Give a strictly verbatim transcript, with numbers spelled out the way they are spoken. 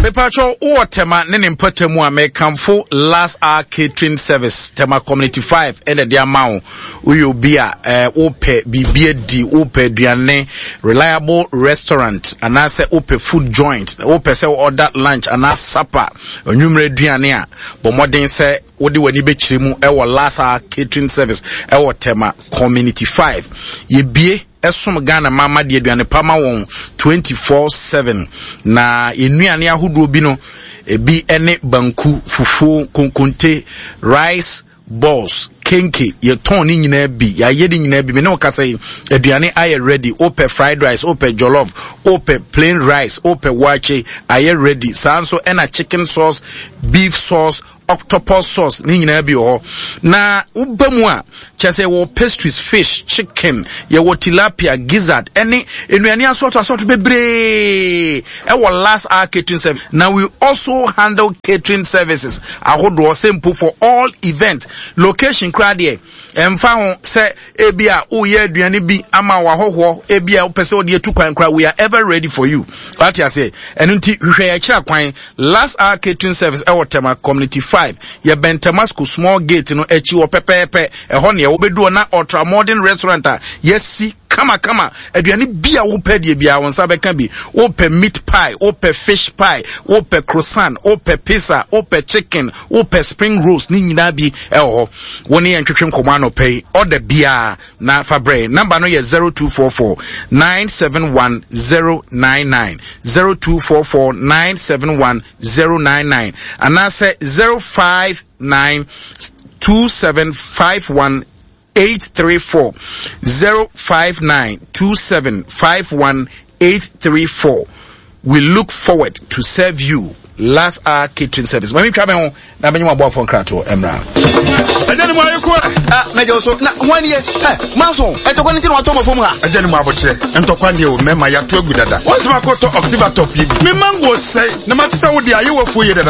Mepatwɛ, wowɔ Tema ne ne mpɔtam a, mekamfo Last Hour Catering Service, Tema Community five, ɛna de ama wo. Woyɛ obi a eh, wopɛ biribi adi, wopɛ aduane, reliable restaurant, anaasɛ wopɛ food joint, wopɛ sɛ order lunch anaa supper, anwummerɛ aduane a, bɔ mmɔden sɛ wode w'ani bɛkyerɛ mu ɛwɔ Last Hour Catering Service ɛwɔ Tema Community five. Yɛbie ɛsom Ghana mama de aduane pa ma wɔn twenty-four seven, na nnuane ahodoɔ bi no ebi ne banku, fufuo, konkonte, rice balls, kenke. Yɛtɔn ne nyinaa bi, yɛayɛ ne nyinaa bi. Me ne wo kasa yi, aduane ayɛ ready. Wopɛ fried rice, wopɛ jollof, wopɛ plain rice, wopɛ waakye, ayɛ ready. Saa nso ɛna chicken sauce, beef sauce, octopus sauce ne nyinaa bi wɔ hɔ. Na woba mu a, kyerɛ sɛ yɛwɔ pastries, fish, chicken, yɛwɔ tilapia, gizzard, ɛne nnuane asɔɔto asɔɔto bebree ɛwɔ Last Hour Catering Service. Na we also handle catering services ahodoɔ sɛ mpo for all event. Location koraa deɛ, ɛmfa ho sɛ ebi a woyɛ aduane bi ama wahɔhoɔ, ebi a wopɛ sɛ wode atu kwan koraa, we are ever ready for you. Wate aseɛ? Ɛno nti hwehwɛ yɛn akyira kwan, Last Hour Catering Service ɛwɔ Tema Community five. Yɛbɛn Tema School small gate no akyi wɔ pɛpɛɛpɛ. Ɛhɔ neɛ wobɛdu hɔ na ultra modern restaurant a yɛasi kamakama. Aduane bi a wopɛ deɛ biara, wo nsa bɛka bi. Wopɛ meat pie, wopɛ fish pie, wopɛ croissant, wopɛ pizza, wopɛ chicken, wopɛ spring rolls, ne nyinaa bi ɛwɔ hɔ. Wo ne yɛn twetwe nkɔmmɔ anɔpɛ yi, ɔda biara na fa brɛ. Number no yɛ zero two four four nine seven one zero nine nine, zero two four four nine seven one zero nine nine, anaasɛ zero five nine two seven five one eight three four, zero five nine two seven five one eight three four. We look forward to serve you. Last Hour Catering Service. Mami twa me ho na menye waboafo nkratoɔ mmra. Ɛgya ne mu ayɛ ko ɛ. Ah, mɛgye wo so na hwan yɛ ɛ manso ɛntɔkwa no nti na watɔ ma fam ha. Ɛgya ne mu abokyerɛ, ntɔkwa deɛ o, mɛma yɛato agu dada. Wɔn sɛ makɔtɔ Octiva Top yi bi, me mango sɛe na mate sɛ wode ayɛ wafuo yɛ dada.